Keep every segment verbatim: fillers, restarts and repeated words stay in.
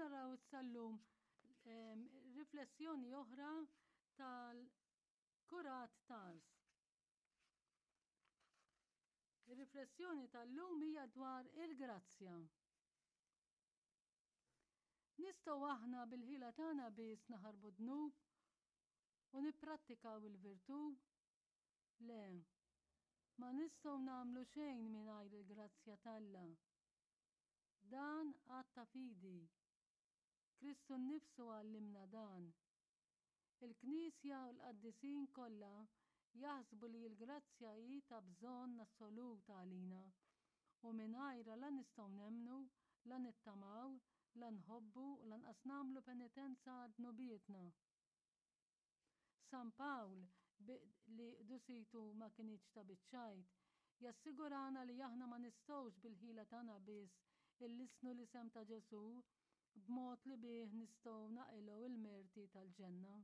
naraw issa llum riflessjoni oħra tal-Kurat t'Ars. Ir-riflessjoni tal-lum hija dwar il-grazzja. Nistgħu aħna bil-ħila tagħna biss naħarbu dnub u nipprattikaw il-virtù? Le, ma nistgħu nagħmlu xejn mingħajr il-grazzja t'Alla. Dan att ta' fidi. Kristu nnifsu għallimna dan. Il-Knisja u l-qaddisin kollha jaħsbu li l-grazzja hi ta' bżonn assolut għalina u mingħajrha la nistgħu nemmnu, la nittamaw, la nħobbu u lanqas nagħmlu penitenza għal dnubietna. San Pawl, li qdusitu ma kinitx ta' biċ-ċajt, jassigurana li aħna ma nistgħux bil-ħila tagħna biss illissnu l-isem ta' Ġesù b'mod li bih nistgħu naqilgħu il-merti tal-ġenna.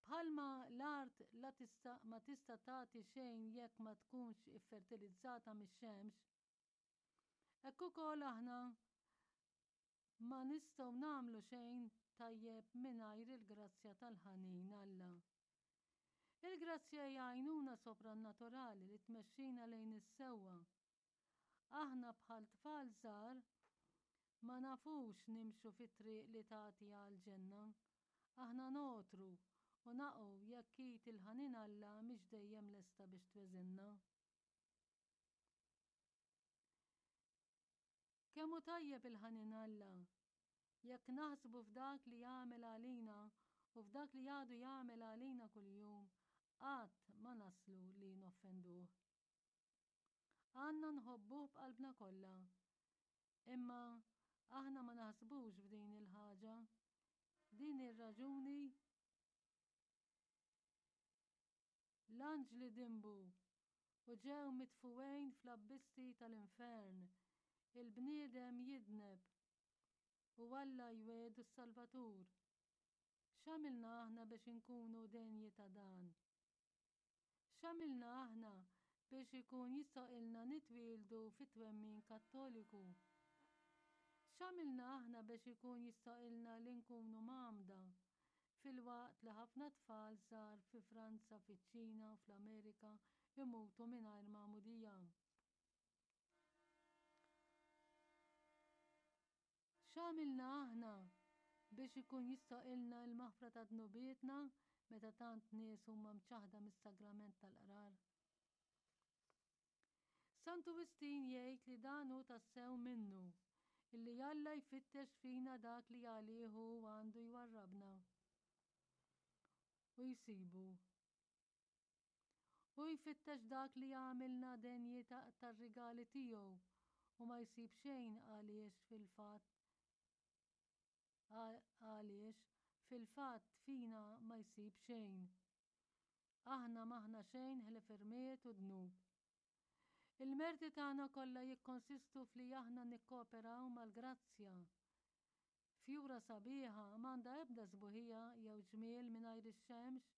Bħalma l-art la tista' ma tista' tagħti xejn jekk ma tkunx iffertilizzata mix-xemx, hekk ukoll aħna ma nistgħu nagħmlu xejn tajjeb mingħajr il-grazzja tal-ħanin Alla. Il-grazzja hija għajnuna soprannaturali li tmexxina lejn is-sewwa. Aħna bħal tfal żgħar ma nafux nimxu fit-triq li tagħti għall-ġenna. Aħna nogħtru u naqgħu jekk id il-ħanin Alla mhix dejjem lesta biex tweżinna. Kemm hu tajjeb il-ħanin Alla! Jekk naħsbu f'dak li għamel għalina u f'dak li għadu jagħmel għalina kuljum, qatt ma naslu li noffenduh. Għandna nħobbuh b'qalbna kollha. Imma aħna ma naħsbux f'din il-ħaġa. Din hi r-raġuni L-anġli dinbu u ġew mitfugħin fl-abbisti tal-infern. Il-bniedem jidneb u Alla jwiegħdu s-Salvatur. X'għamilna aħna biex inkunu denji ta' dan? X'għamilna aħna biex ikun jistgħoqilna nitwieldu fit-twemmin Kattoliku? X'għamilna aħna biex ikun jistgħoqilna li nkunu mgħammda, filwaqt li ħafna tfal żgħar fi Franza, fiċ-Ċina u fl-Amerika jmutu mingħajr magħmudija? X'għamilna aħna biex ikun jistgħoqilna l-maħfra ta' dnubietna meta tant nies huma mċaħħda mis-sagrament tal-qrar? Santu Wistin jgħid li dan hu tassew minnu, illi Alla jfittex fina dak li għalih hu għandu jwarrabna u jsibu. Hu jfittex dak li jagħmilna denji tar-rigali tiegħu u ma jsib xejn għaliex fil-fatt għaliex fil-fatt fina ma jsib xejn. Aħna m'aħna xejn ħlief irmied u dnub. Il-merti tagħna kollha jikkonsistu f'li aħna nikkooperaw mal-grazzja. Fjura sabiħa m'għandha ebda sbuħija jew ġmiel mingħajr ix-xemx,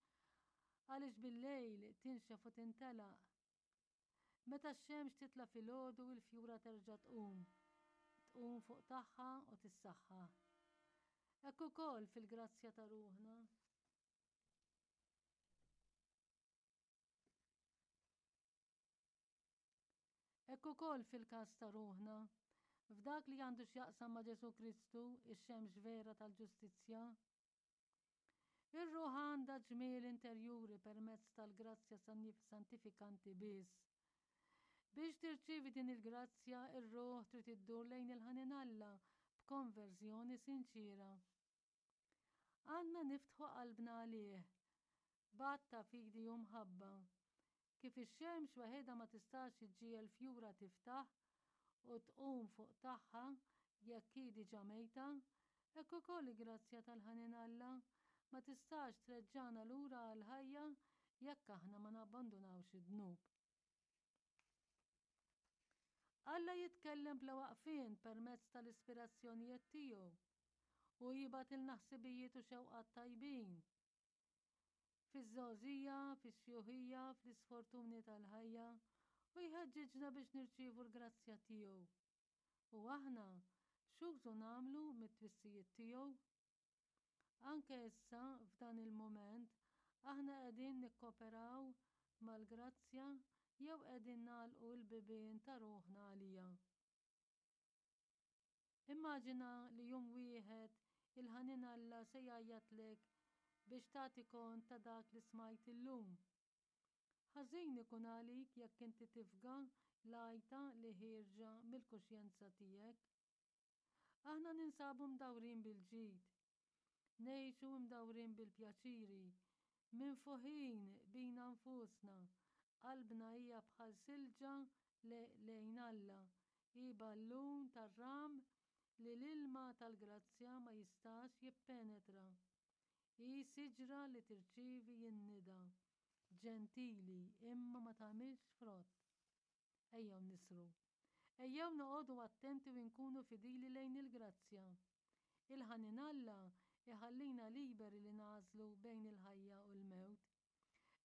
għaliex bil-lejl tinxef u tintelaq. Meta x-xemx titla' filgħodu il-fjura terġa' tqum, tqum fuq tagħha u tissaħħaħ. Hekk ukoll fil-grazzja ta' ruħna. Hekk ukoll fil-każ ta' ruħna, f'dak li għandu x'jaqsam ma' Ġesù Kristu, ix-xemx vera tal-ġustizzja. Ir-ruħ għandha ġmiel interjuri permezz tal-grazzja santifikanti biss. Biex tirċievi din il-grazzja, ir-ruħ trid iddur lejn il-ħanin Alla b'konverżjoni sinċiera. Għandna niftħu qalbna għalih, b'għadd ta' fidi u mħabba. Kif ix-xemx waħedha ma tistax iġġiegħel fjura tiftaħ u tqum fuq tagħha jekk hi diġà mejta, hekk ukoll il-grazzja tal-ħanin Alla ma tistax treġġagħna lura għall-ħajja jekk aħna ma nabbandunawx id-dnub. Alla jitkellem bla waqfien permezz tal-ispirazzjonijiet tiegħu. Hu jibgħatilna ħsibijiet u xewqat tajbin. Fiż-żgħożija, fix-xjuħija, fl-isfortuni tal-ħajja, hu jħeġġiġna biex nirċievu l-grazzja tiegħu. U aħna x'użu nagħmlu mit-twissijiet tiegħu? Anke issa f'dan il-mument aħna qegħdin nikkoperaw mal-grazzja jew qegħdin nagħlqu l-bibien ta' ruħna għaliha. Immaġina li jum wieħed il-ħanin Alla se jgħajjatlek biex tagħti kont ta' dak li smajt illum. Ħażin ikun għalik jekk inti tifga l-għajta li ħierġa mill-kuxjenza tiegħek. Aħna ninsabu mdawrin bil-ġid, ngħixu mdawrin bil-pjaċiri, minfuħin bina nfusna, qalbna hija bħal silġa lejn Alla, hi ballun tar-ram li l-ilma tal-grazzja ma jistax jippenetra. Hi siġra li tirċievi n-nida, ġentili imma ma tagħmilx frott. Ejjew nisru. Ejjew noqogħdu attenti u nkunu fidili lejn il-grazzja. Il-ħanin Alla iħallina liberi li nagħżlu bejn il-ħajja u l-mewt.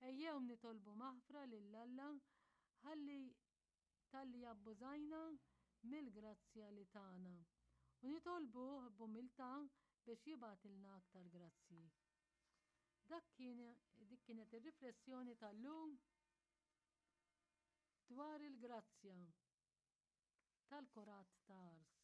Ejjew nitolbu maħfra lil Alla ħalli talli abbużajna mill-grazzja li tana. U nitolbuh b'umiltà biex jibgħatilna aktar grazzji. Dak kien dik kienet ir-riflessjoni tal-lum dwar il-grazzja tal-Kurat ta' Ars.